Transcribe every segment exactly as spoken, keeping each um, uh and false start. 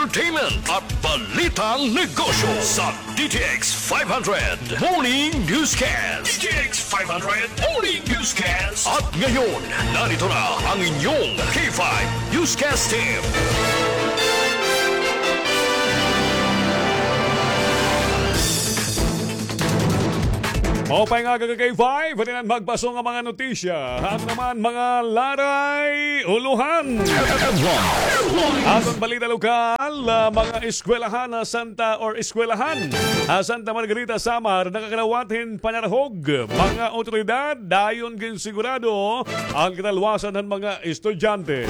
Entertainment at Balitang Negosyo sa D T X five hundred Morning Newscast. D T X five hundred Morning Newscast. At ngayon, narito na ang inyong K five Newscast Team. Maupay nga aga ka K five, hatinan magpaso nga mga notisya. Ato naman mga laray, ulohan. Aton balita lokal, ah, mga eskwelahan ha Santa or eskwelahan ha Santa Margarita, Samar, nakakalawat hin panarahog. Mga otoridad, dayon ginsigurado an katalwasan han mga estudyante.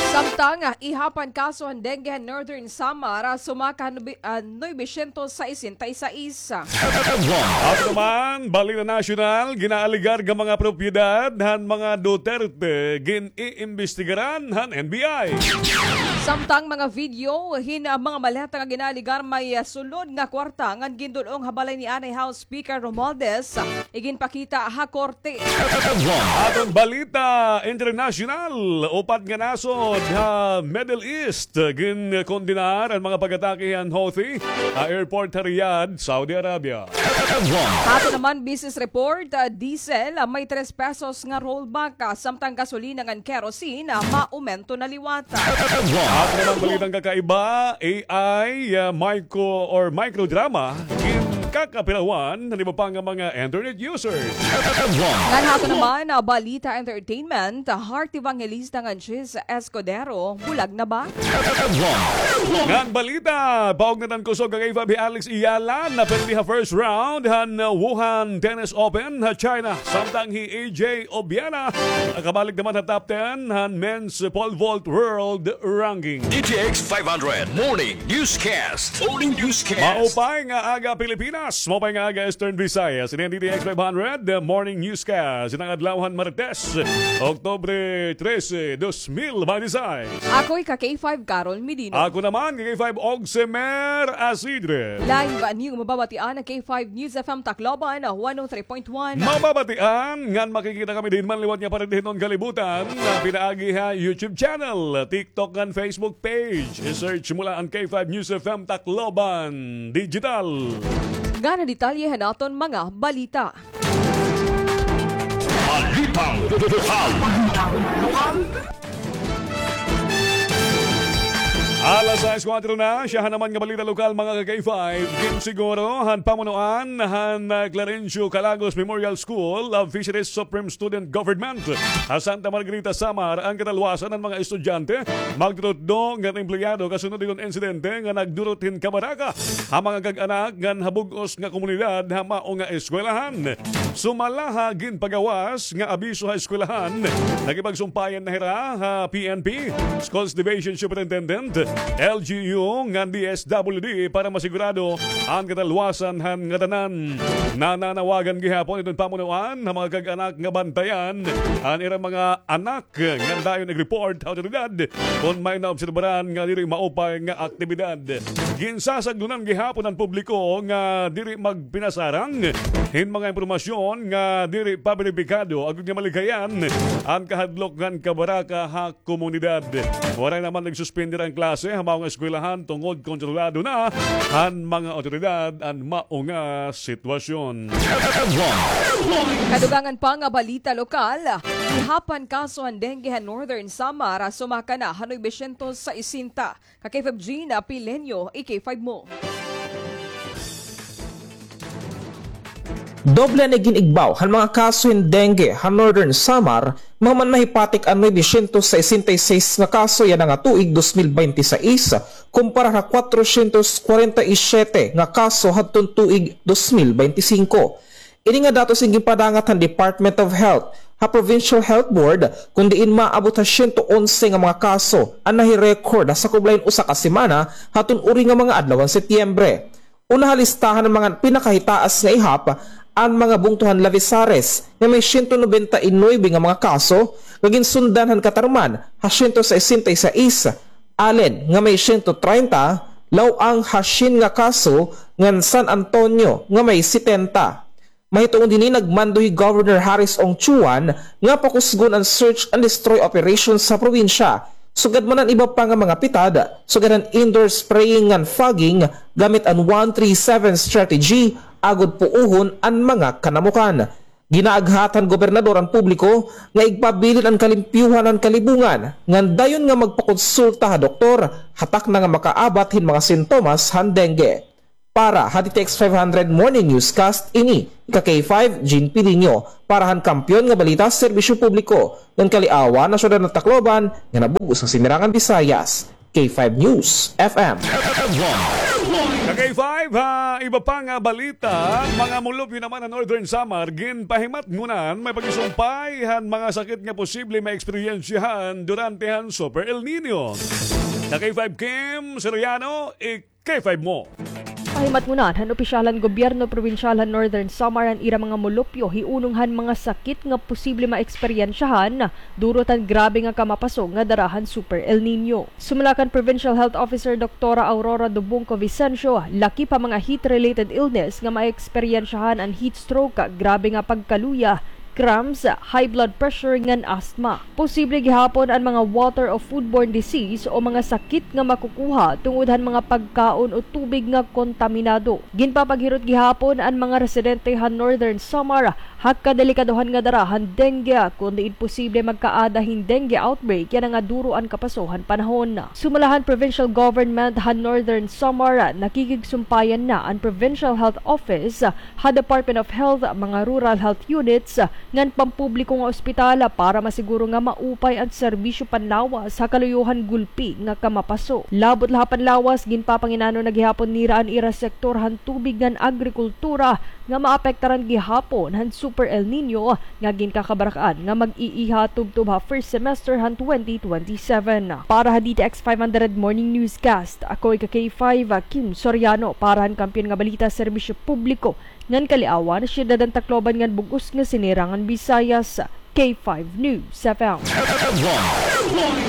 Samtang, ah, ihapan kaso han dengue han Northern Samar, ah, sumaka han nubi-, ah, nuebe syentos sesenta y seis. Ato naman, balita nasyonal, ginaaligar nga mga propiedad han mga Duterte, gin-iimbestigaran han N B I. Samtang mga video hin, ah, mga maleta nga ginaaligar may, ah, sulod nga kwarta ngan gindul-ong ha balay ni anay House Speaker Romualdez, iginpakita ha korte. Aton balita internasyonal, upat nga nasod ha Middle East ginkondenar an mga pag-atake han Houthi ha airport ha Riyadh, Saudi Arabia. Aton naman business report, ah, diesel, ah, may tres pesos nga rollback, ah, samtang gasolina ngan kerosene, ah, maumento na liwat. Aton naman balitang kakaiba, A I, ah, micro or microdrama, ginkakapirawan han iba pa nga mga internet users. Ngan ha aton naman, ah, balita entertainment, ah, Heart Evangelista ngan Chiz Escudero, bulag na ba? Ngan balita, paugnatan kusog kay Fabi Alex Iyala, napirdi ha first round han Wuhan Tennis Open ha China. Samtang hi A J Obiera, nakabalik naman ha top ten han men's pole vault world ranking. D T X five hundred Morning Newscast. Morning Newscast. Maupay nga aga, Pilipinas. Maupay nga aga, Eastern Visayas. Ini an D T X five hundred, the Morning Newscast. Ini an adlaw han Martes, Oktubre trese, dos mil baynte sais. Ako hi ka K five, Carol Medino. Ako naman, K five, Ogsemer Asidre. Live niyo mababatian an K five News F M Tacloban, one oh three point one. Mababatian ngan makikita kami diin man liwat nga paridihnon kalibutan, nga pinaagi ha YouTube channel, TikTok ngan Facebook page. I-search mo la an K five News F M Tacloban Digital. Ngan an detalye han aton mga balita. Balitang lokal. Alas sais kuwatro na, siyahan naman nga balita lokal, mga ka-K five. Ginsiguro han pamunuan han, ah, Clarencio Calagos Memorial School of Fisheries Supreme Student Government ha Santa Margarita, Samar, an katalwasan han mga estudyante, magtututdo ngan empleyado kasunod hiton insidente nga nagdurot hin kabaraka ha mga kag-anak ngan ha bug-os nga komunidad ha mao nga eskwelahan. Sumala ha ginpagawas nga abiso ha eskwelahan, nakipagsumpayan na hira ha P N P, Schools Division Superintendent, L G U, ngan D S W D para masigurado an katalwasan han ngatanan. Nananawagan gihapon iton pamunuan ha mga kag-anak nga bantayan an ira mga anak ngan dayon ig-report ha awtoridad kon may naobserbaran nga diri maupay nga aktibidad. Ginsasagdonan gihapon an publiko nga diri magpinasarang hin mga impormasyon nga diri pa beripikado agod nga malikayan an kahadlok ngan kabaraka ha komunidad. Waray naman nagsuspender an klase ha mao nga eskwelahan tungod kontrolado na han mga awtoridad an mao nga sitwasyon. Kadugangan pa nga balita lokal, ihapan kaso han dengue ha Northern Samar, sumaka na ha nuebe syentos sesenta. Ka K five Gina Pileño, i K five mo. Doble an igin-igbaw han mga kaso hin dengue ha Northern Samar, mahuman mahipatik an nuebe syentos sesenta y seis nga kaso yana nga tuig dos mil baynte sais, kumpara ha cuatrocientos cuarenta y siete nga kaso hadton tuig dos mil baynte singko. Ini nga datos in ginpadangat han Department of Health ha Provincial Health Board, kon diin maabot ha siyento onse nga mga kaso an nahi-record ha sakublayan usa ka semana hadton uri nga mga adlaw han Setyembre. Una ha listahan han mga pinakahitaas nga ihap an mga bungto han Lavezares nga may siyento nobenta y nuebe nga mga kaso, nga ginsundan han Catarman ha siyento sesenta y sais, Alen nga may siyento treinta, Laoang ha syen nga kaso, ngan San Antonio nga may setenta. Mahitungod hini, nagmando hi Governor Harris Ong Chuan nga pakusgon an search and destroy operation sa probinsya. Sugad man an iba pa nga mga pitad, sugad han indoor spraying ngan fogging gamit an one three seven strategy, agod puuhon an mga kanamukan. Ginaaghat han gobernador an publiko nga igpabilin an kalimpyuhan han kalibungan, ngan dayon nga magpakonsulta ha doktor, ha takna nga makaabat hin mga sintomas han dengue. Para ha D T X five hundred Morning Newscast, ini ika K five, Jean Pidiño, para han Kampiyon nga Balita, Serbisyo Publiko, ngan kaliawan han Syudad han Tacloban, nga nabug-os nga Sinirangan Visayas, K five News F M. Ka K five, ha iba pa nga balita, mga mulupyo naman ha Northern Samar, ginpahimatngonan may pagsumpay han mga sakit nga posible maeksperiensyahan durante han Super El Nino. Ka K five Kim Soriano, ik K five mo. Pahimatngonan han opisyal han gobyerno probinsyal han Northern Samar an ira mga mulupyo hiunong han mga sakit nga posible maeksperiensyahan durot han grabe nga kamapaso nga dara han Super El Nino. Sumala kan Provincial Health Officer Doktora Aurora Dobongco Vicencio, lakip ha mga heat-related illness nga maeksperiensyahan an heat stroke, grabe nga pagkaluya, cramps, high blood pressure ngan asthma. Posible gihapon an mga water o foodborne disease o mga sakit nga makukuha tungod han mga pagkaon o tubig nga kontaminado. Ginpapaghirot gihapon an mga residente han Northern Samar ha kadelikadohan nga dara han dengue, kon diin posible magkaada hin dengue outbreak yana nga duro an kapaso han panahon. Sumala han provincial government han Northern Samar, nakikigsumpayan na an Provincial Health Office ha Department of Health, mga rural health units, ngan pampubliko nga ospital para masiguro nga maupay an serbisyo panlawas ha kaluyo han gulpi nga kamapaso. Labot la ha panlawas, ginpapanginano na gihapon nira an ira sektor han tubig ngan agrikultura nga maapektaran gihapon han Super El Nino nga ginkakabarak-an nga mag-iiha tubtob ha first semester han twenty twenty-seven. Para ha D T X five hundred Morning Newscast, ako ika K five, Kim Soriano, para han Kampiyon nga Balita, Serbisyo Publiko, ngan kaliawan, Syudad han Tacloban ngan bug-os nga Sinirangan Visayas, K five News F M.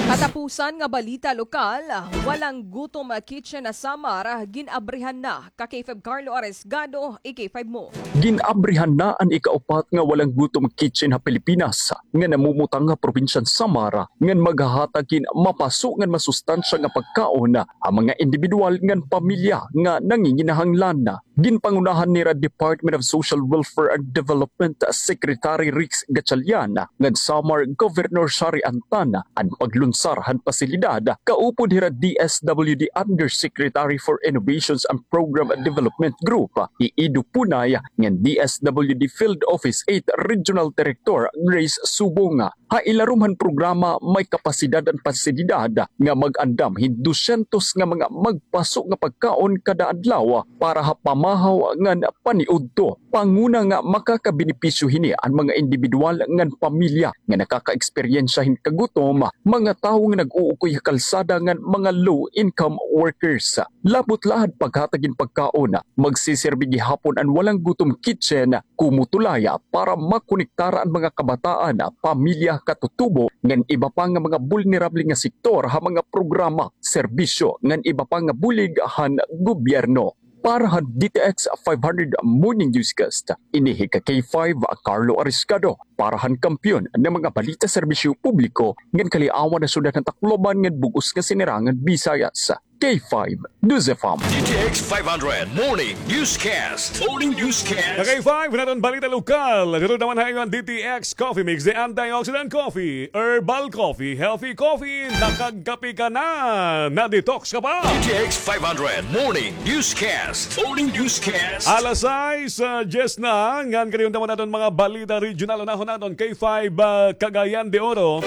Katapusan nga balita lokal, Walang Gutom Kitchen ha Samar, gin-abrihan na, ka K five Carlo Aresgado, i K five mo. Gin-abrihan na an ikaupat nga Walang Gutom Kitchen ha Pilipinas, nga namumutang ha probinsya han Samar, ngan maghahatag hin mapaso ngan masustansya nga pagkaon ha mga indibidwal ngan pamilya nga nanginginahanglan. Ginpangunahan nira Department of Social Welfare and Development Secretary Rex Gatchalian ngan Samar Governor Shari Antan an paglunsar han pasilidad, kaupod hira D S W D Undersecretary for Innovations and Program Development Group, hi Ido Punay, ngan D S W D Field Office eight Regional Director Grace Subong. Ha ilarom han programa, may kapasidad an pasilidad nga mag-andam hin dusyentos nga mga magpaso nga pagkaon kada adlaw para ha pamahaw ngan paniudto. Panguna nga makakabenepisyo hini an mga indibidwal ngan pamilya nga nakakaeksperyensya hin kagutom, mga tawo nga nag-uukoy ha kalsada ngan mga low-income workers. Labot la han paghatag hin pagkaon, magsiserbi gihapon an Walang Gutom Kitchen komo tulay para makonektara an mga kabataan, pamilya, katutubo, ngan iba pa nga mga bulnerable nga sektor ha mga programa, serbisyo, ngan iba pa nga bulig han gobyerno. Para han D T X five hundred Morning Newscast, ini hi ka K five, Carlo Ariscado, para han Kampiyon nga mga Balita, Serbisyo Publiko, ngan kaliawan ha Syudad han Tacloban ngan bug-os nga Sinirangan Visayas, K five News F M. D T X five hundred Morning Newscast. Morning Newscast. Ka K five, naton balita lokal. Dito naman ha inyo an D T X Coffee Mix, the antioxidant coffee, herbal coffee, healthy coffee, nakagkape ka na, na-detox ka pa. D T X five hundred Morning Newscast. Morning Newscast. Alas sais, ah, diyes na, ngan kadiyot naman naton mga balita regional, unahon naton K five, ah, Cagayan de Oro.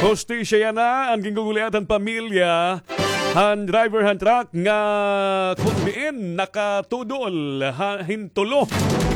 Hustisya yana an ginguguliat han pamilya han driver han truck nga kon diin nakatudol ha, hin tulo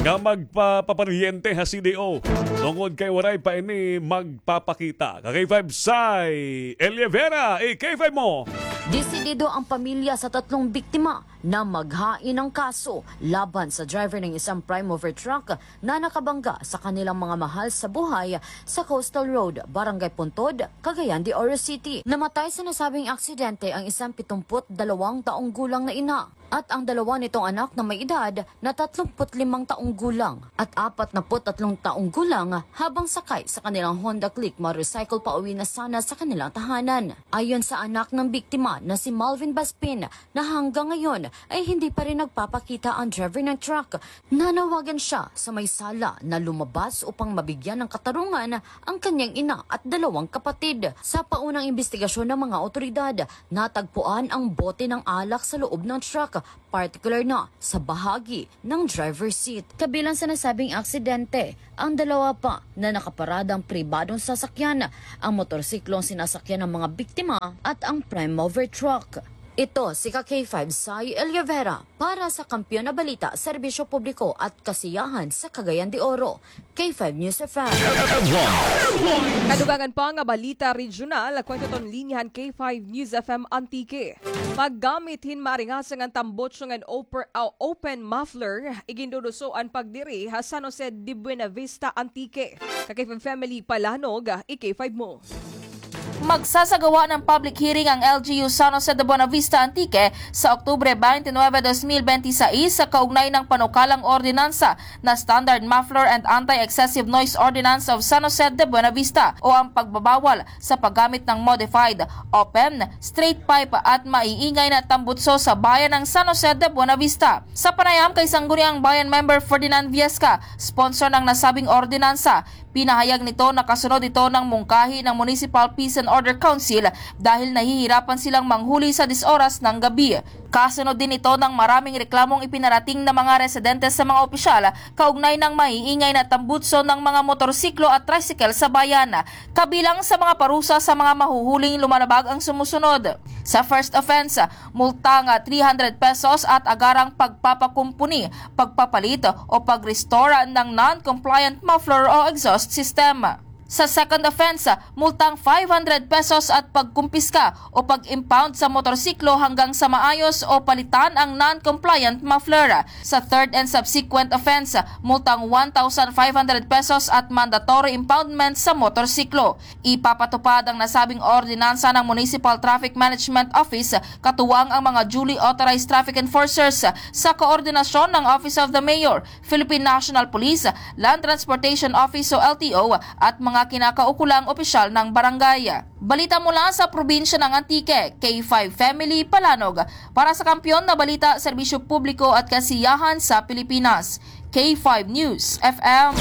nga magpaparyente ha C D O. Tungod kay waray pa ini magpapakita. Ka K five, Sai Elievera, i K five mo. Desidido ang pamilya sa tatlong biktima na maghain ng kaso laban sa driver ng isang prime mover truck na nakabangga sa kanilang mga mahal sa buhay sa Coastal Road, Barangay Puntod, Cagayan de Oro City. Namatay sa nasabing aksidente ang isang pitumput dalawang taong gulang na ina. at ang dalawa nitong anak na may edad na tatlumpu't limang taong gulang at apat na put tatlong taong gulang habang sakay sa kanilang Honda Click motorcycle pauwi na sana sa kanilang tahanan. Ayon sa anak ng biktima na si Malvin Baspin na hanggang ngayon ay hindi pa rin nagpapakita ang driver ng truck, nanawagan siya sa may sala na lumabas upang mabigyan ng katarungan ang kanyang ina at dalawang kapatid. Sa paunang imbestigasyon ng mga otoridad, natagpuan ang bote ng alak sa loob ng truck, partikular na sa bahagi ng driver seat. Kabilang sa nasabing aksidente, ang dalawa pa na nakaparadang pribadong sasakyan, ang motorsiklo ang sinasakyan ng mga biktima at ang prime mover truck. Ito si ka K five Sai Eliavera para sa Kampiyon na Balita, Serbisyo Publiko at Kasiyahan sa Cagayan de Oro, K five News F M. Kadugangan pa nga balita regional, kwento ton linya han K five News F M Antique. Paggamit hin maringasang nga tambutso ngan oper-, ah, open muffler, iginduduso an pagdiri ha San Jose de Buenavista, Antique. Ka K five Family Palanog, i K five mo. Magsasagawa ng public hearing ang L G U San Jose de Buenavista, Antique sa Oktubre twenty-nine, dos mil benti sais sa kaugnay ng panukalang ordinansa na Standard Muffler and Anti-Excessive Noise Ordinance of San Jose de Buenavista o ang pagbabawal sa paggamit ng modified, open, straight pipe at maiingay na tambutso sa bayan ng San Jose de Buenavista. Sa panayam kay Sangguniang Bayan Member Ferdinand Viesca, sponsor ng nasabing ordinansa, pinahayag nito na kasunod ito ng mungkahi ng Municipal Peace and Order Council dahil nahihirapan silang manghuli sa diyes oras ng gabi. Kasunod din ito ng maraming reklamong ipinarating ng mga residente sa mga opisyal kaugnay ng maiingay na tambutso ng mga motorsiklo at tricycle sa bayan. Kabilang sa mga parusa sa mga mahuhuling lumalabag ang sumusunod. Sa first offense, multang three hundred pesos at agarang pagpapakumpuni, pagpapalit o pag-restore ng non-compliant muffler o exhaust system. Sa second offense, multang five hundred pesos at pagkumpiska o pag-impound sa motorsiklo hanggang sa maayos o palitan ang non-compliant muffler. Sa third and subsequent offense, multang one thousand five hundred pesos at mandatory impoundment sa motorsiklo. Ipapatupad ang nasabing ordinansa ng Municipal Traffic Management Office, katuwang ang mga duly authorized traffic enforcers, sa koordinasyon ng Office of the Mayor, Philippine National Police, Land Transportation Office o L T O, at mga kinakaukulang opisyal ng barangay. Balita mula sa probinsya ng Antique, K five Family Palanog. Para sa Kampiyon na Balita, Serbisyo Publiko at Kasiyahan sa Pilipinas, K five News F M.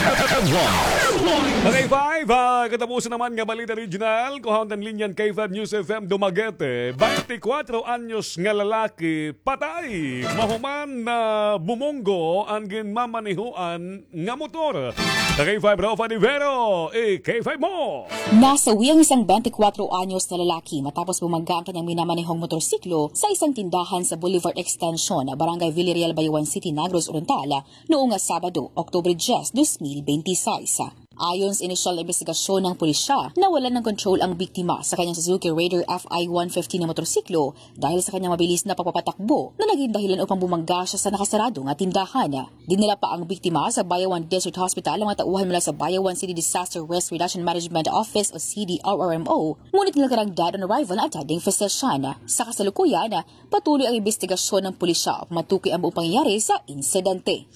K five, ah, katapusan naman nga balita regional, kuhaon ta an linya han K five News F M Dumaguete. Twenty-four anyos nga lalaki patay mahuman na bumunggo an ginmamanehoan nga motor. K five Rafa Divero, i K five mo. Nasawi ang isang twenty-four anyos na lalaki matapos bumangga ang kanyang minamanehong motorsiklo sa isang tindahan sa Boulevard Extension, Barangay Villarreal, Bayawan City, Negros Oriental, noong Sabado, Oktubre diyes, dos mil benti sais. Ayon sa inisyal na imbestigasyon ng pulisya, nawalan ng kontrol ang biktima sa kanyang Suzuki Raider F I one fifty na motorsiklo dahil sa kanyang mabilis na pagpapatakbo na naging dahilan upang bumangga siya sa nakasarado nga tindahan. Dinala pa ang biktima sa Bayawan District Hospital ng mga tauhan mula sa Bayawan City Disaster Risk Reduction Management Office o C D R R M O, ngunit nilagay dead on arrival ng attending physician. Sa kasalukuyan, patuloy ang imbestigasyon ng pulisya upang matukoy ang buong pangyayari sa insidente.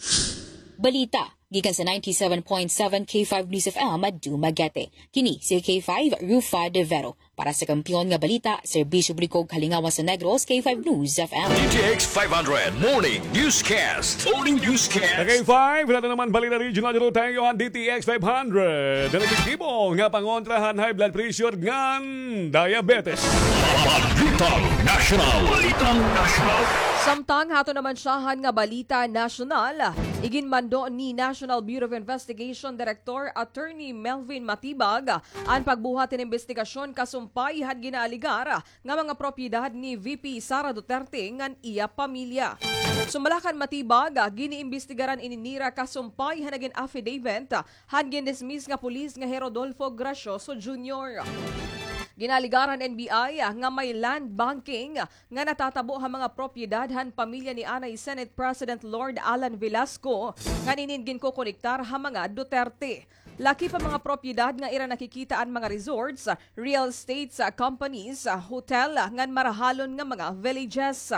Balita gikan sa ninety-seven point seven K five News F M Dumaguete. Kini si K five Rufa De Vero. Para sa Kampiyon nga Balita, Serbisyo Publiko, Kalingawan sa Negros, K five News F M. D T X five hundred Morning Newscast. Morning Newscast. K five, wala na naman balita regional, dito tayo han D T X five hundred. An epektibo nga pangontra han high blood pressure ngan diabetes. Balitang National. Balitang National. Samtang hato naman syahan nga balita nasyonal, iginmando ni National Bureau of Investigation Director Attorney Melvin Matibag an pagbuhat hin imbestigasyon kasumpay han ginaaligar nga mga propiedad ni V P Sara Duterte ngan iya pamilya. Sumala kan Matibag, giniimbestigaran ini nira kasumpay han nagin affidavit han gindismiss nga pulis nga hi Rodolfo Gracioso Junior. Ginaaligar han N B I nga may land banking nga natatabo ha mga propiedad han pamilya ni anay Senate President Lord Alan Velasco ngan inin ginkokonektar ha mga Duterte. Lakip an mga propiedad nga ira nakikita an mga resorts, real estates, companies, hotel, ngan marahalon nga mga villages.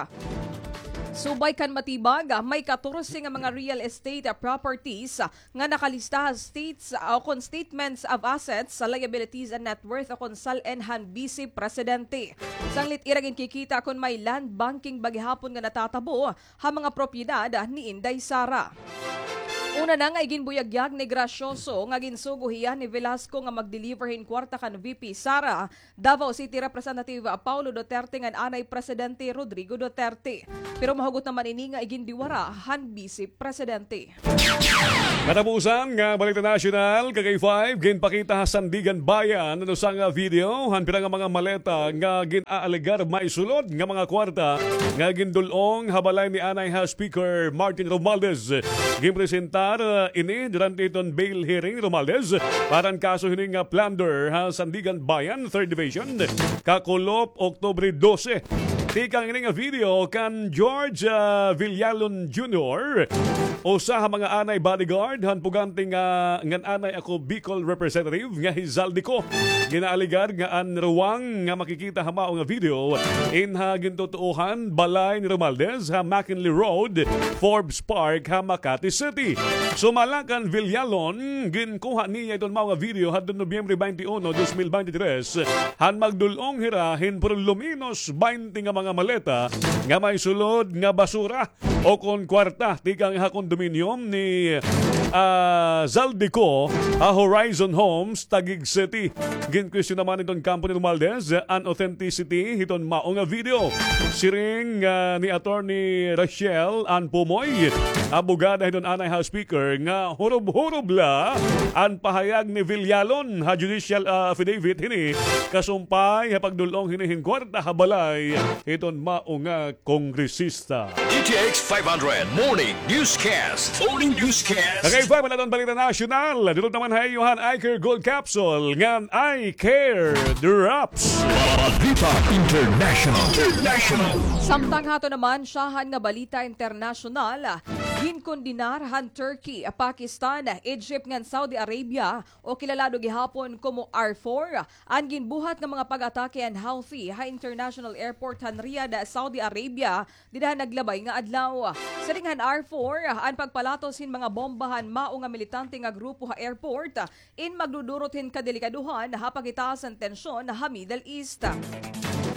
Subay kan Matibag, may katorse nga mga real estate properties nga nakalista ha states o kon statements of assets, liabilities and net worth o kon SALN han Bise Presidente. Sanglit ira ginkikita kon may land banking ba gihapon nga natatabo ha mga propiedad ni Inday Sara. Una na nga iginbuyagyag ni Gracioso nga ginsugo hiya ni Velasco nga mag-deliver hin kwarta kan V P Sara, Davao City Representative Paulo Duterte ngan anay Presidente Rodrigo Duterte. Pero mahugot naman ini nga igindiwara han Bise Presidente. Katapusan nga balita nasyonal, ka K five, ginpakita ha Sandiganbayan an usa nga video han pira nga mga maleta nga gin-aalegar may sulod nga mga kwarta nga gindul-ong ha balay ni anay ha Speaker Martin Romualdez. Ginpresentar, uh, ini durante hiton bail hearing ni Romualdez para han kaso hini nga plunder ha Sandiganbayan, Third Division, kakulop Oktubre dose. Tikang ini nga video kan George, ah, Villalon Junior, usa ha mga anay bodyguard han pugante nga ngan anay ako Bicol representative nga hi Zaldy Co. Ginaalegar nga an ruwang nga makikita ha mao nga video in ha gintutuohan balay ni Romualdez ha McKinley Road, Forbes Park ha Makati City. Sumala kan Villalon, ginkuha niya iton mao nga video hadton Nobyembre twenty-one, dos mil bente tres, han magdul-ong hira hin por lo menos baynte nga mga maleta nga may sulod nga basura o kon kwarta tikang ha kondominium ni, ah, Zaldy Co ha Horizon Homes, Taguig City. Ginkwestiyon naman iton kampo ni Romualdez an authenticity hiton mao nga video. Siring, ah, ni Attorney Rachel Ann Pumoy, abogada hiton anay ha Speaker, nga hurob-hurob la an pahayag ni Villalon ha judicial, ah, affidavit hini kasumpay ha pagdul-ong hini hin kwarta ha balay hiton mao nga kongresista. D T X five hundred Morning Newscast. Morning Newscast. Kagay pa, malaton balita nasyonal. Dulot naman ha iyo han Eye Care Gold Capsule ngan Eye Care Drops. Balita International. International. Samtang hato naman, syahan nga balita internasyonal, ginkondenar han Turkey, Pakistan, Egypt ngan Saudi Arabia, o kilalado gihapon komo R four, an ginbuhat nga mga pag-atake han Houthi ha international airport han Riyadh, Saudi Arabia, dida han naglabay nga adlaw. Siring han R four, an pagpalatos hin mga bomba han mao nga militante nga grupo ha airport in magdudurot hin kadelikadohan ha pagitaas han tensyon ha Middle East.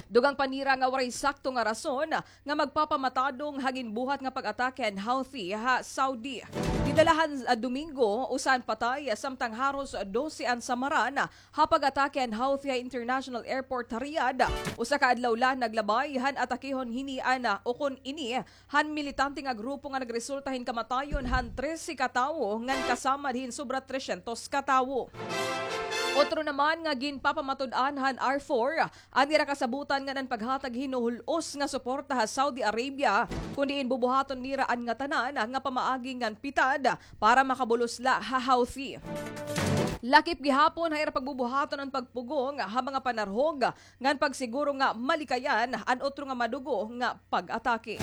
Dugang pa nira nga waray sakto nga rason nga magpapamatadong ha ginbuhat nga pag-atake han Houthi ha Saudi. Dida la han, ah, Domingo, usa an patay, samtang haros dose an samaran ha pag-atake han Houthi ha International Airport ha Riyadh. Usa ka adlaw la naglabay han atakehon hini an, ah, o kon ini han militante nga grupo nga nagresulta hin kamatayon han trese ka tawo ngan kasamad hin sobra tresyentos ka tawo. Otro naman nga ginpapamatud-an han R four an ira kasabotan ngan an paghatag hin huhul-os nga suporta ha Saudi Arabia, kon diin bubuhaton nira an ngatanan nga pamaagi ngan pitad para makabulos la ha Houthi. Lakip gihapon ha ira pagbubuhaton an pagpugong ha mga panarhog ngan pagsiguro nga malikayan an otro nga madugo nga pag-atake.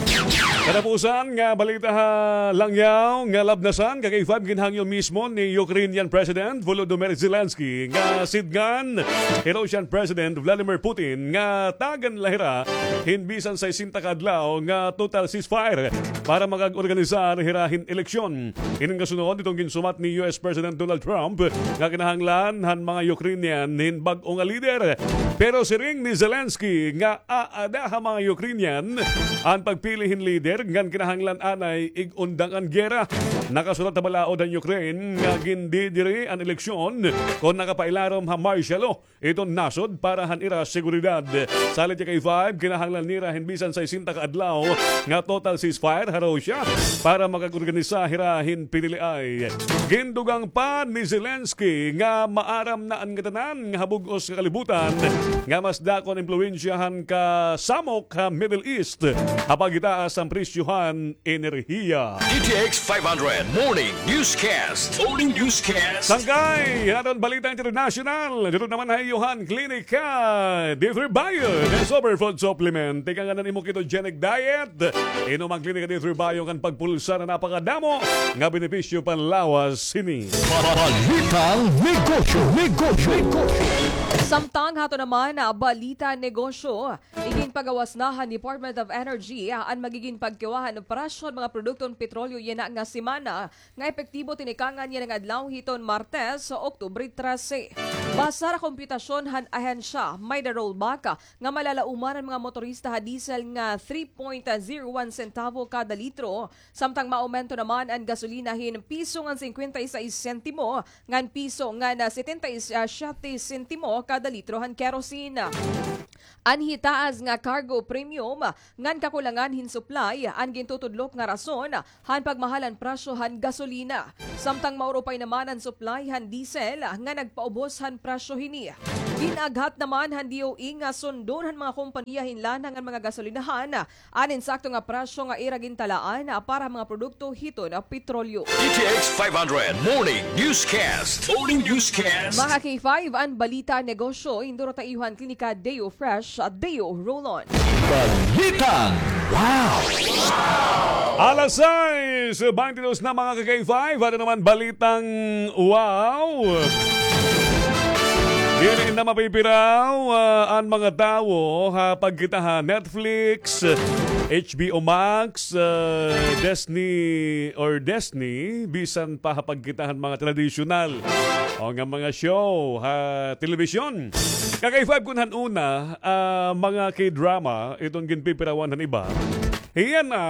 Katapusan nga balita ha langyaw nga labnasan, ka K five, ginhangyo mismo ni Ukrainian President Volodymyr Zelensky nga sidngan hi Russian President Vladimir Putin nga tagan la hira hin bisan sesenta ka adlaw nga total ceasefire para makag-organisar hira hin eleksyon. Ini nga sunod hiton ginsumat ni U S President Donald Trump nga kinahanglan han mga Ukrainian hin bag-o nga lider. Pero siring ni Zelensky nga aada ha mga Ukrainian an pagpili hin lider ngan kinahanglan anay ig-undang an gera. Nakasulat ha balaod han Ukraine nga gindidiri an eleksyon kon nakapailarom ha martial law iton nasod para han ira seguridad. Salit ha K five, kinahanglan nira hin bisan sesenta ka adlaw nga total ceasefire ha Russia para makag-organisa hira hin piniliay. Gindugang pa ni Zelensky nga maaram na an ngatanan nga ha bug-os nga kalibutan nga mas dako an impluwensya han kasamok ha Middle East ha pagitaas han presyo han enerhiya. D T X five hundred Morning Newscast. Morning Newscast. Sangkay han aton balita internasyonal, didto naman ha iyo han Klinika D three Bio, the superfood supplement. Tikang han imo ketogenic diet, inom an Klinika D three Bio ngan pagpulsa na napakadamo nga benepisyo panlawas hini. Balitang Negosyo, Negosyo, Negosyo. Samtang hato naman, ah, balita negosyo, iginpagawas na han Department of Energy, ah, an magigin pagkiwa han presyo han mga produkto han petrolyo yana nga semana, nga epektibo tinikangan yana nga adlaw hiton Martes, Oktubre trese. Basar ha komputasyon han ahensya, may da-rollback, ah, nga malalauman an mga motorista ha diesel nga three point zero one sentavo kada litro, samtang maumento naman an gasolina hin piso ngan singkwenta y sais sentimo ngan piso ngan setenta y siyete sentimo kada litro han kerosene. An hitaas nga cargo premium ngan kakulangan hin supply an gintutudlok nga rason han pagmahal han presyo han gasolina. Samtang maurupay naman an supply han diesel nga nagpaubos han presyo hini. Gin-aghat naman han D O E nga sundon han mga kompanya hin lana ngan mga gasolinahan an insakto nga presyo nga ira gintalaan para ha mga produkto hiton petrolyo. D T X five hundred Morning Newscast. Morning Newscast. Mga K five, an balita negosyo, hinduruta iyo han Klinika Deo Fresh, Deo Roll-On. Balitang Wow! Alas sais baynte dos na, mga ka-K five. Ano naman balitang wow? Diri na mapipiraw, ah, an mga tawo ha pagkita ha Netflix, H B O Max, ah, Disney or Disney, bisan pa ha pagkita han mga tradisyonal o nga mga show ha telebisyon. Ka-K five, kun han una, ah, mga K-drama, iton ginpipirawan han iba. Hiya na,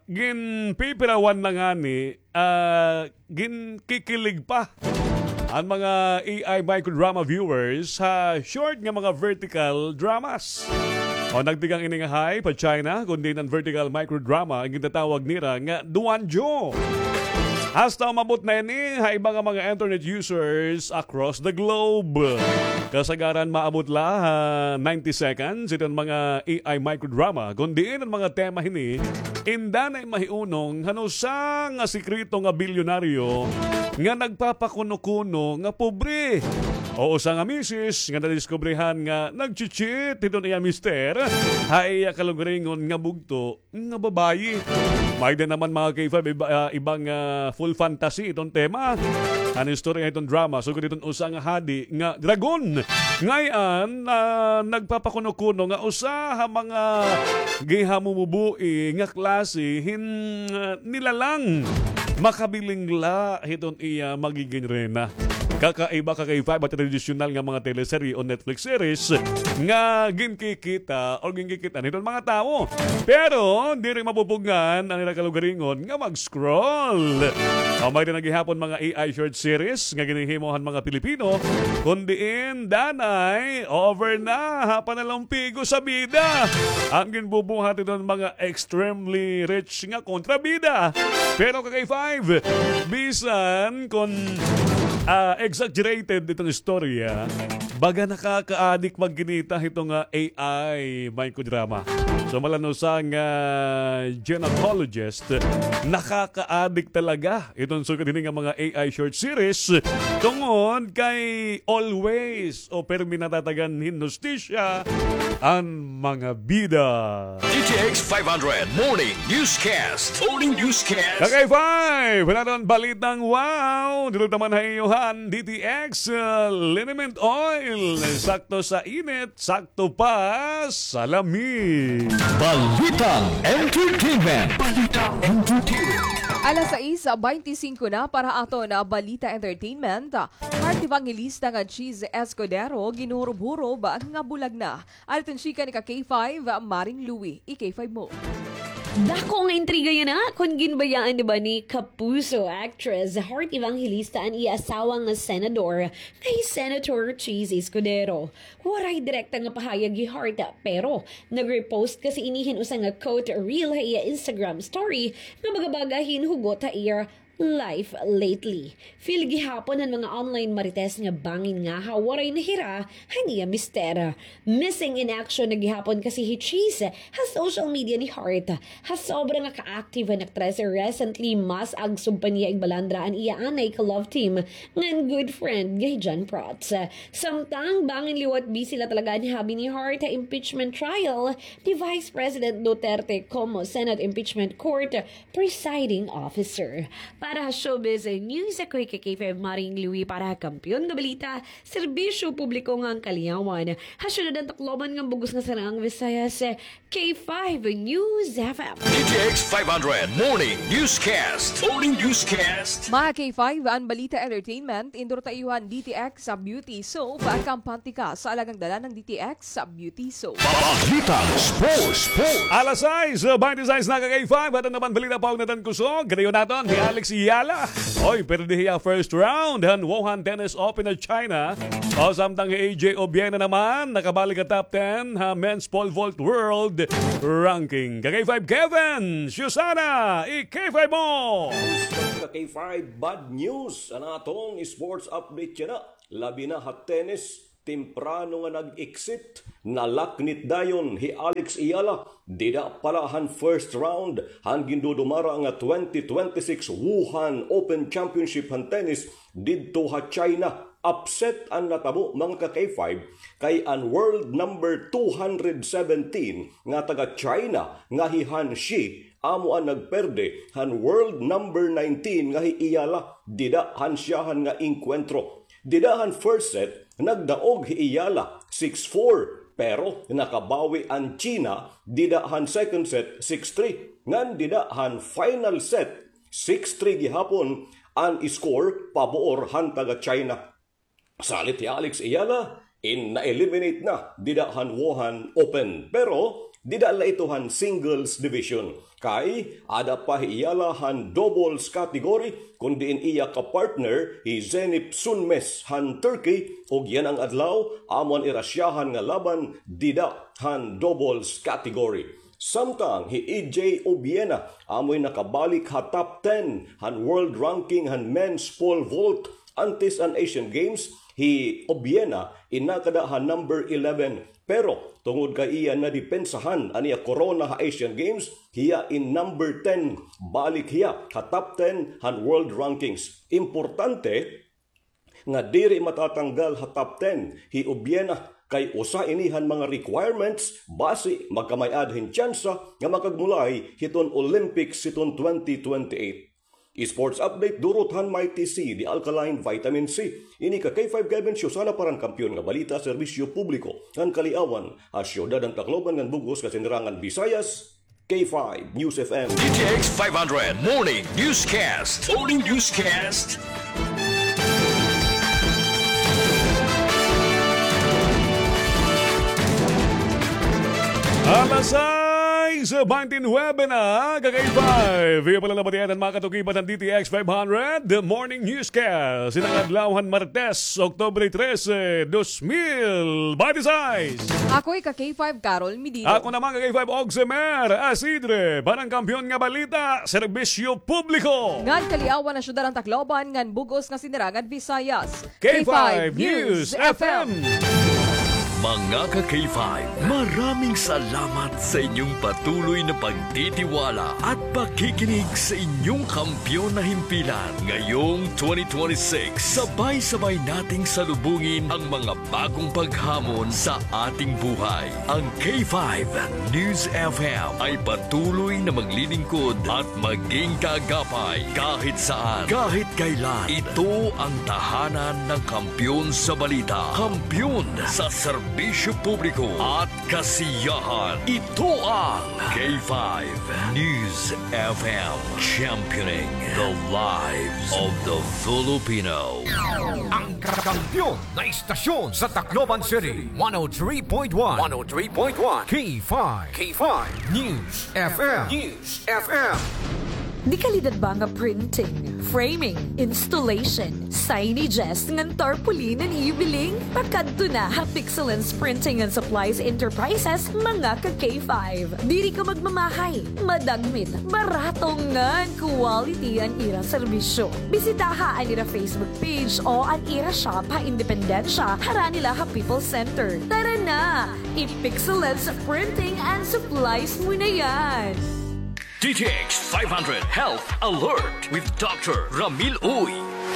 ginpipirawan na ngani, ah, ginkikilig pa an mga A I microdrama viewers ha short nga mga vertical dramas. O, nagtikang ini nga hype ha China, kun diin an vertical microdrama an gintatawag nira nga Duanjo. Hasta umabot na ini ha iba nga mga internet users across the globe. Kasagaran maabot la ha ninety seconds iton mga A I microdrama, kun diin an mga tema hini indanay mahiunong han usa nga sekreto nga bilyonaryo nga nagpapakuno-kuno nga pobre, o usa nga misis nga nadiskubrehan nga nagchi-cheat hiton iya mister ha iya kalugaringon nga bugto nga babayi. May-ada naman, mga K five, iba, ah, ibang, ah, full fantasy iton tema. An istorya hiton drama sugad hiton usa nga hadi nga dragon. Ngay-an, ah, nagpapakuno-kuno nga usa ha mga gihamumubuhi nga klase hin, ah, nilalang. Makabiling la hiton iya magigin reyna. Kakaiba, ka-K five, ha tradisyonal nga mga teleserye o Netflix series nga ginkikita o ginkikita hiton mga tawo. Pero diri mapupugngan an ira kalugaringon nga mag-scroll. May-ada na gihapon mga A I short series nga ginhihimo han mga Pilipino, kun diin danay over na ha panalumpigo sa bida an ginbubuhat hiton mga extremely rich nga kontrabida. Pero, ka-K five, bisan kun, ah, exaggerated iton istorya, baga nakakaadik magkinita hiton nga A I microdrama. So, malan usa nga gynecologist, nakakaadik talaga iton sugad hini nga mga A I short series tungod kay always o pirmi natatagan hin hustisya an mga bida. D T X five hundred Morning Newscast. Morning Newscast. Ka-K five, naton balitang wow. Dulot naman ha iyo han D T X, uh, liniment oil. Sakto sa init, sakto pa sa lami. Balitang entertainment. Balitang entertainment. Alas sais baynte singko na para aton balita entertainment. Heart Evangelista ngan Chiz Escudero ginhurob-hurob nga bulag na. An iton chika ni ka-K five, Maring Louie, i-K five mo. Dako nga intriga yana kon ginbayaan na ba ni kapuso actress Heart Evangelista an iya asawa nga senador kay Senator Chiz Escudero. Waray direkta nga pahayag hi Heart, pero nag-repost kasi ini hin usa nga quote reel ha iya Instagram story nga baga-baga hin hugot ha iya life lately. Feel gihapon han mga online marites nga bangin ngahaw waray nahira han iya mister. Missing in action na gihapon kasi hi Chiz ha social media ni Heart. Ha sobra nga ka-active han aktres, recently mas agsob pa niya igbalandra an iya anay ka love team ngan good friend nga hi John Prats. Samtang bangin liwat busy la talaga an hubby ni Heart ha impeachment trial ni Vice President Duterte komo Senate Impeachment Court presiding officer. Para ha showbiz news, ako hi K five Maring Louie para ha Kampiyon nga Balita, Serbisyo Publiko ngan Kaliyawan ha Syudad han Tacloban ngan bug-os nga Sariang Visayas, K five News F M. D T X five hundred Morning Newscast. Morning Newscast. Mga K five, an balita entertainment, introduce ta iyo han D T X sa Beauty Soap, kampante ka sa alagang dala ng D T X sa Beauty Soap. Balitang sports, sports. Alas sais, uh, twenty-six na ka K five, aton naman balita pa, naton kusog. Gadayon naton, hi Alex Eala. Oy, pirdi hiya first round han Wuhan Tennis Open of China. O, samtang hi A J Obiena naman, nakabalik ha top ten ha men's pole vault world ranking. Ka K five Kevin, Susana, i K five mo. Ka K five, bad news. An aton sports update yana. Labi na ha tennis, temprano nga nag-exit, nalaknit dayon hi Alex Eala, dida pa la han first round han gindudumara nga twenty twenty-six Wuhan Open Championship han tennis didto ha China. Upset an natabo, mga ka K five, kay an world number two hundred seventeen nga taga China nga hi Han Shi amo an nagperde han world number nineteen nga hi Eala dida han syahan nga engkwentro. Dida han first set, nagdaog hi Eala six four, pero nakabawi an China dida han second set, six three, ngan dida han final set, six three gihapon an score pabuor han taga China. Salit hi Alex Eala, in na-eliminate na dida han Wuhan Open. Pero dida la ito han singles division. Kay ada pa hi Eala han doubles category, kun diin iya ka-partner hi Zeynep Sönmez han Turkey, ug yana nga adlaw, amo an ira syahan nga laban dida han doubles category. Samtang hi A J Obiena amoy nakabalik ha top ten han world ranking han men's pole vault. Antes an Asian Games, hi Obiena in nakada ha number eleven. Pero tungod kay iya nadepensahan an iya korona ha Asian Games, hiya in number ten, balik hiya ha top ten han world rankings. Importante nga diri matatanggal ha top ten hi Obiena, kay usa ini han mga requirements basi magkamay-ada hin tsansa nga makagmulay hiton Olympics hiton twenty twenty-eight. Sports update, durot han Mighty C, the alkaline vitamin C. Ini ka K five Kevin Susana para han Kampiyon nga Balita, Serbisyo Publiko ngan Kaliyawan, ha Syudad han Tacloban ngan bug-os nga Sinirangan Visayas, K five News F M. D T X five hundred Morning Newscast. Morning Newscast. Alas sais, twenty-nine na, ka K five. Iyo pa la nabatian an mga katukipan han D T X five hundred, The Morning Newscast. Ini nga adlaw han Martes, Oktubre trese, dos mil binte sais. Ako hi ka K five, Carol Medina. Ako naman ka K five, Oximer Asidre. Para han Kampiyon nga Balita, Serbisyo Publiko ngan Kaliyawan, ha Syudad han Tacloban ngan bug-os nga Sinirangan Visayas, K five News F M. Mga ka K five, maraming salamat sa inyong patuloy na pagtitiwala at pakikinig sa inyong kampiyon na himpilan. Ngayong twenty twenty-six, sabay-sabay nating salubungin ang mga bagong paghamon sa ating buhay. Ang K five News F M ay patuloy na maglilingkod at maging kaagapay kahit saan, kahit kailan. Ito ang tahanan ng kampiyon sa balita, kampiyon sa serbisyo publiko at kasiyahan. Ito ang K five News F M, championing the lives of the Filipino. Ang kampiyon na istasyon sa Tacloban City, one oh three point one. One oh three point one. K five. K five News F M. News F M. Dekalidad ba nga printing, framing, installation, signages, ngan tarpaulin an iyo biling? Pakadto na ha Pixelance Printing and Supplies Enterprises, mga ka K five. Diri ka magmamahay, madagmit, barato ngan quality an ira serbisyo. Bisitaha an ira Facebook page o an ira shop ha Independencia, harani la ha People's Center. Tara na! I-Pixelance Printing and Supplies mo na yan! D T X five hundred Health Alert with Doctor Ramil Uy.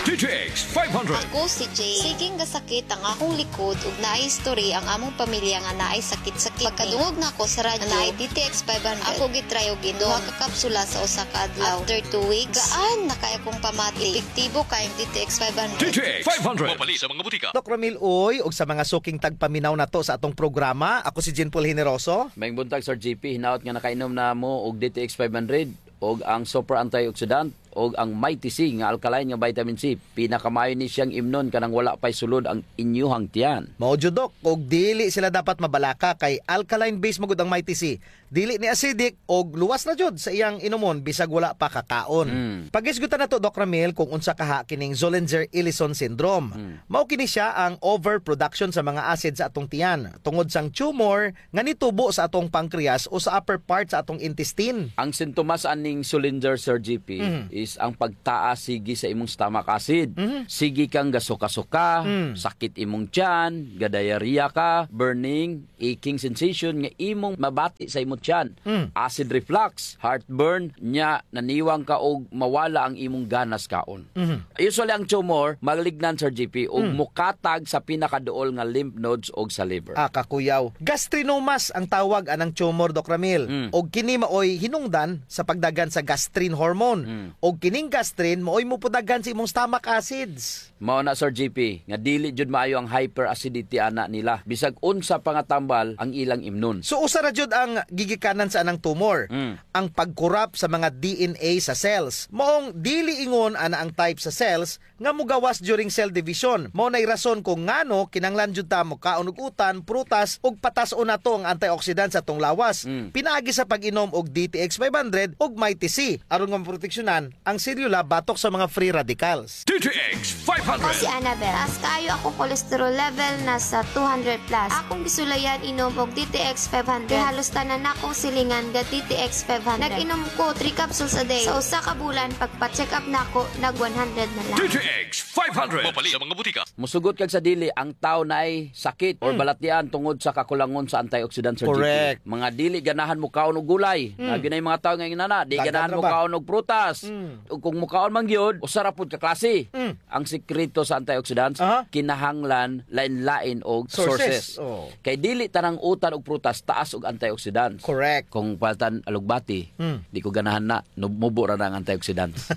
D T X five hundred. Ako si Jane. Siging gasakit ang akong likod ug naay history ang among pamilya nga naay sakit-sakit. Pagkadungog nako sa radyo nga naay D T X five hundred, ako gitry og inom. Duha ka kapsula sa usa ka adlaw. After two weeks, gaan na kaayo akong pamati. Epektibo kaayo ang D T X five hundred. D T X five hundred. Mapalit sa mga butika. Doc Ramil Uy, ug sa mga suking tagpaminaw nato sa atong programa, ako si Jean Paul Generoso. Maayong buntag, Sir G P. Hinaot nga nakainom na mo og D T X five hundred, og ang super antioxidant, og ang Mighty C nga alkaline nga vitamin C. Pinakamaayo ni siyang imnon kanang wala pa'y sulod ang inyuhang tiyan. Mao jud, Doc, og dili sila dapat mabalaka kay alkaline base man gud ang Mighty C. Dili ni acidic og luwas na jud sa iyang inumon bisag wala pa kakaon. Mm. Paghisgutan nato, Doc Ramil, kung unsa kaha kining Zollinger-Ellison syndrome. Mm. Mao kini siya ang overproduction sa mga acid sa atong tiyan tungod sang tumor nga nitubo sa atong pancreas o sa upper part sa atong intestine. Ang sintomas aning Zollinger, Sir G P, mhm, is ang pagtaas sige sa imong stomach acid. Mhm. Sige kang gasuka-suka, mm, sakit imong tiyan, ga-diarrhea ka, burning, aching sensation nga imong mabati sa imong tiyan, mm, acid reflux, heartburn, nya naniwang ka og mawala ang imong ganas kaon. Mhm. Usually ang tumor, malignant, Sir G P, ug, mm, mukatag sa pinakaduol nga lymph nodes og sa liver. Ah, kakuyaw. Gastrinomas ang tawag anang tumor, Doc Ramil. Mm. Og kini maoy hinungdan sa pagdaghan sa gastrin hormone. Mm. Og kining gastrin maoy mopudaghan sa imong stomach acids. Mao na, Sir G P, nga dili jud maayo ang hyperacidity ana nila. Bisag unsa pa nga tambal ang ilang imnon. So, usa ra jud ang gigikanan sa anang tumor. Mm. Ang pagkurap sa mga D N A sa cells. Maong dili ingon ana ang type sa cells nga mogawas during cell division. Mao nay rason kung ngano kinahanglan jud ta mokaon og utan, prutas, ug patas-on nato ang antioxidant sa atong lawas. Mm. Pinaagi sa pag-inom og D T X five hundred ug Mighty C, aron nga maproteksyonan ang selula batok sa mga free radicals. D T X five hundred. Ako si Annabel. Taas kaayo akong cholesterol level, nasa two hundred plus. Akong gisulayan inom og D T X five hundred. Kay halos tanan nakong silingan ga D T X five hundred. Nag-inom ko three capsules a day. Sa usa ka bulan, pagpa-check up nako, nag one hundred na lang. D T X five hundred. Mapalit sa mga butika. Musugot kag sa dili, ang tawo naay sakit or, mm, balatian tungod sa kakulangon sa antioxidant, Sir G P. Correct. Mga dili ganahan mokaon og gulay. Mm. Naa gyud nay mga tawo nga ingon ana, di ganahan mokaon og prutas. Mm. Ug kung mokaon man gyud, usa ra pud ka klase. Mm. Ang sikreto sa antioxidants, aha, kinahanglan lain-lain og sources. Sources, oo. Kay dili tanang utan ug prutas taas og antioxidants. Correct. Kung paltan alugbati, hmm, di ko ganahan na, nub-, mubo ra na ang antioxidants.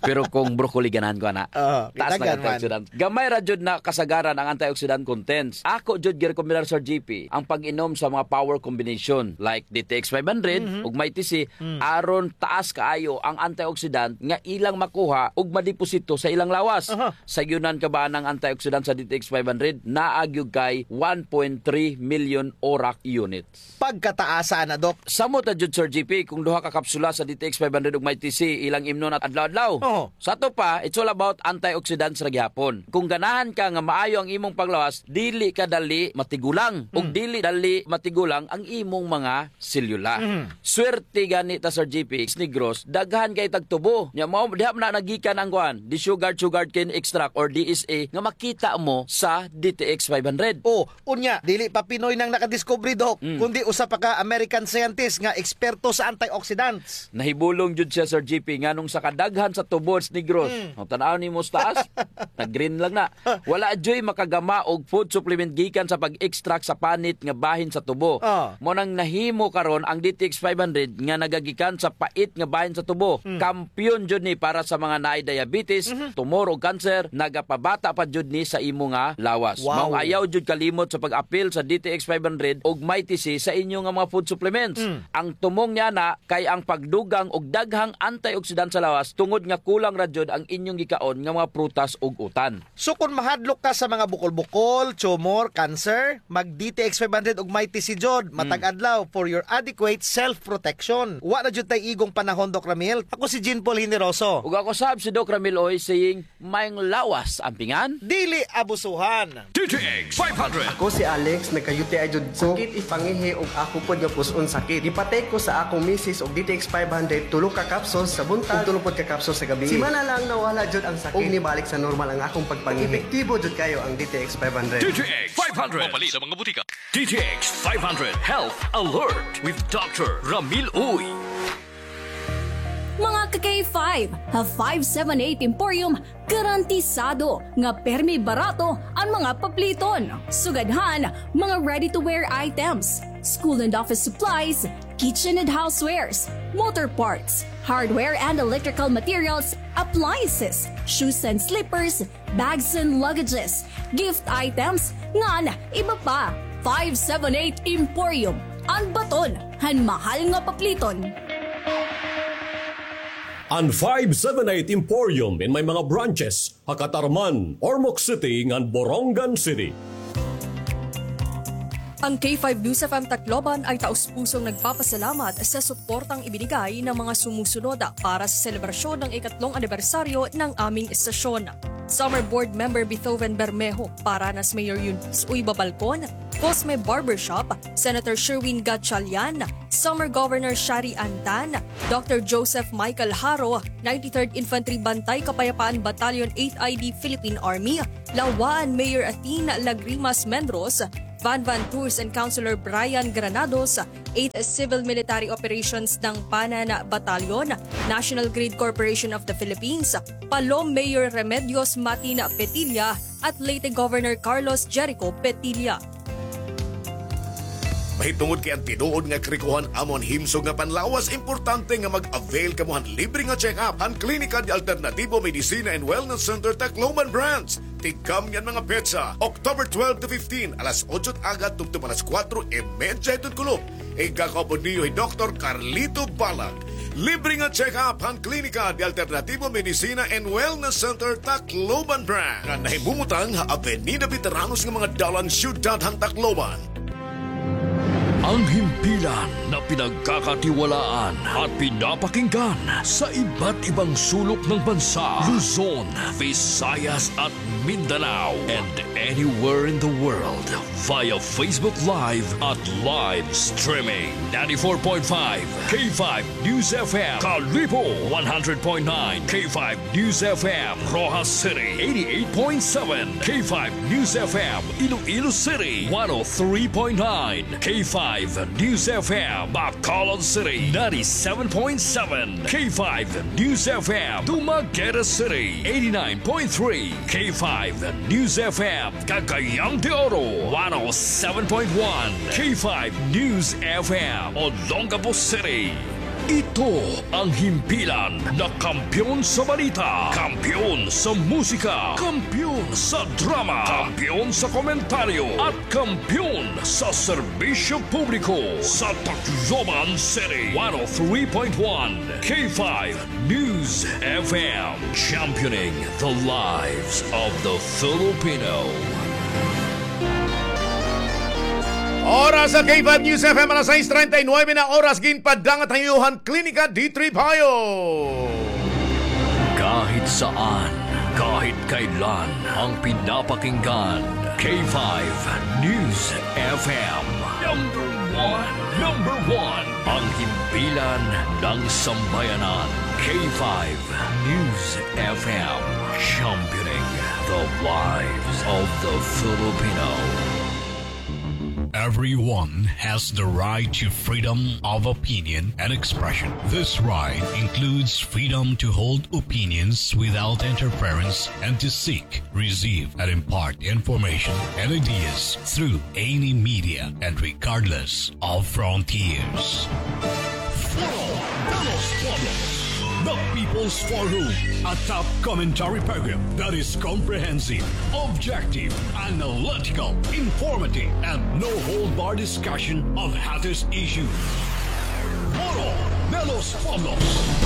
Pero kung broccoli, ganahan ko ana. Oo, taas na ang antioxidant. Gamay ra jud na kasagaran ang antioxidant contents. Ako jud girekomendar, Sir G P, ang pag-inom sa mga power combination like D T X five hundred, mhm, ug Mighty C, hmm, aron taas kaayo ang antioxidant nga ilang makuha ug madeposito sa ilang lawas. Aha. Sayonan ka ba anang antioxidant sa D T X five hundred? Naa gyud kay one point three million ORAC units. Pagkataasa na, Doc. Samot na jud, Sir G P, kung duha ka kapsula sa D T X five hundred ug Mighty C ilang imnon adlaw-adlaw. Oho. Sa ato pa, it's all about antioxidants ra gihapon. Kung ganahan ka nga maayo ang imong panglawas, dili ka dali matigulang. Ug, hmm, dili dali matigulang ang imong mga selula. Mhm. Swerte gani ta, Sir G P, sa Negros, daghan kay tag tubo. Nya, mao, diha man na naggikan ang kuan, desugared sugarcane extract or D S E, nga makita mo sa D T X five hundred. Oh, unya, dili pa Pinoy nang nakadiskubre, Doc, mm, kundi usa pa ka American scientist nga eksperto sa antioxidants. Nahibulong jud siya, Sir G P, nganong sa kadaghan sa tubo sa Negros. Mm. Ang tan-aw nimo sa taas, nag-green lang na. Wala juy makagama og food supplement gikan sa pag-extract sa panit nga bahin sa tubo. Ah. Mao nang nahimo karon ang D T X five hundred nga nagagikan sa pait nga bahin sa tubo. Mm. Kampiyon jud ni para sa mga naay diabetes, mhm, tumor ug cancer, nagapabata pa jud ni sa imo nga lawas. Wow. Maong ayaw jud kalimot sa pag-apil sa D T X five hundred ug Mighty C sa inyo nga mga food supplements. Mm. Ang tumong niya na kay ang pagdugang og daghang antioxidant sa lawas tungod nga kulang ra jud ang inyong gikaon nga mga prutas ug utan. So, kon mahadlok ka sa mga bukol-bukol, tumor, cancer, mag D T X five hundred ug Mighty C jud, hmm, matag adlaw for your adequate self-protection. Wa na jud tay igong panahon, Doc Ramil. Ako si Jean Paul Generoso. Ug ako sab si Doc Ramil Uy, saying, maayong lawas, ampingan. Dili abusuhan. D T X five hundred. Ako si Alex, nagka-U T I jud ko. Sakit ipangihi ug ako pod nga pus-on sakit. Gipa-take ko sa akong misis og D T X five hundred, tulo ka capsules sa buntag, ug tulo pod ka capsules sa gabii. Simana lang nawala jud ang sakit. Ug nibalik sa normal ang akong pagpangihi. Epektibo jud kayo ang D T X five hundred. D T X five hundred. Mapalit sa mga butika. D T X five hundred Health Alert with Doctor Ramil Uy. Mga ka-K five, ha five seven eight Emporium, garantisado nga permi barato an mga papliton. Sugad han mga ready-to-wear items, school and office supplies, kitchen and housewares, motor parts, hardware and electrical materials, appliances, shoes and slippers, bags and luggages, gift items, ngan iba pa. Five seven eight Emporium, an baton han mahal nga papliton. An five seven eight Emporium in may mga branches ha Catarman, Ormoc City, ngan Borongan City. Ang K five News F M Tacloban ay taus-pusong nagpapasalamat sa suportang ibinigay ng mga sumusunod para sa selebrasyon ng ikatlong anibersaryo ng aming estasyon. Summer Board Member Beethoven Bermejo, Paranas Mayor Eunice Uy Babalcon, Cosme Barbershop, Senator Sherwin Gatchalian, Summer Governor Shari Ann Tan, Doctor Joseph Michael Haro, ninety-third Infantry Bantay Kapayapaan Battalion, eighth I D Philippine Army, Laua-an Mayor Athena Lagrimas Mendros, Van Van Tours and Councilor Brian Granados, eighth Civil Military Operations Dangpanan Battalion, National Grid Corporation of the Philippines, Palom Mayor Remedios Matin Petilla, at Leyte Governor Carlos Jericho Petilla. Mahitungod kay an tinuod nga karikohan amo an himsog nga panlawas, importante nga mag-avail kamo han libre nga check-up han Klinika de Alternativo Medicina and Wellness Center Tacloban Branch. Tigkam niyan mga petsa, October twelve to fifteen, alas otso it aga tubtob alas kuwatro y media hiton kulop. Igkakaupod niyo hi Doktor Carlito Balag. Libre nga check-up han Klinika de Alternativo Medicina and Wellness Center Tacloban Branch, nga nahimumutang ha Avenida Veteranos nga mga dalan, siyudad han Tacloban. Ang himpilan na pinagkakatiwalaan at pinapakinggan sa iba't ibang sulok ng bansa, Luzon, Visayas at Mindanao, and anywhere in the world via Facebook Live at live streaming. Ninety-four point five K five News F M, Kalibo, one hundred point nine K five News F M, Roxas City, eighty-eight point seven K five News F M, Iloilo City, one oh three point nine K five News F M, Bacolod City, ninety-seven point seven K five News F M, Dumaguete City, eighty-nine point three K five News F M, Cagayan de Oro, one oh seven point one K five News F M, Olongapo City. Ito ang himpilan na kampiyon sa balita, kampiyon sa musika, kampiyon sa drama, kampiyon sa komentaryo, at kampiyon sa serbisyo publiko sa Tacloban City. One oh three point one K five News F M, championing the lives of the Filipino. Oras sa K five News F M, alas sais treinta y nueve na oras, ginpadangat ha iyo han Klinika D three Bio. Kahit saan, kahit kailan, ang pinapakinggan, K five News F M. Number one, number one, ang himpilan ng sambayanan, K five News F M, championing the lives of the Filipino. Everyone has the right to freedom of opinion and expression. This right includes freedom to hold opinions without interference and to seek, receive, and impart information and ideas through any media and regardless of frontiers. Foro de los Pueblos, the People's Forum, a top commentary program that is comprehensive, objective, analytical, informative, and no-hold-bar discussion of hottest issues. Foro de los Pueblos.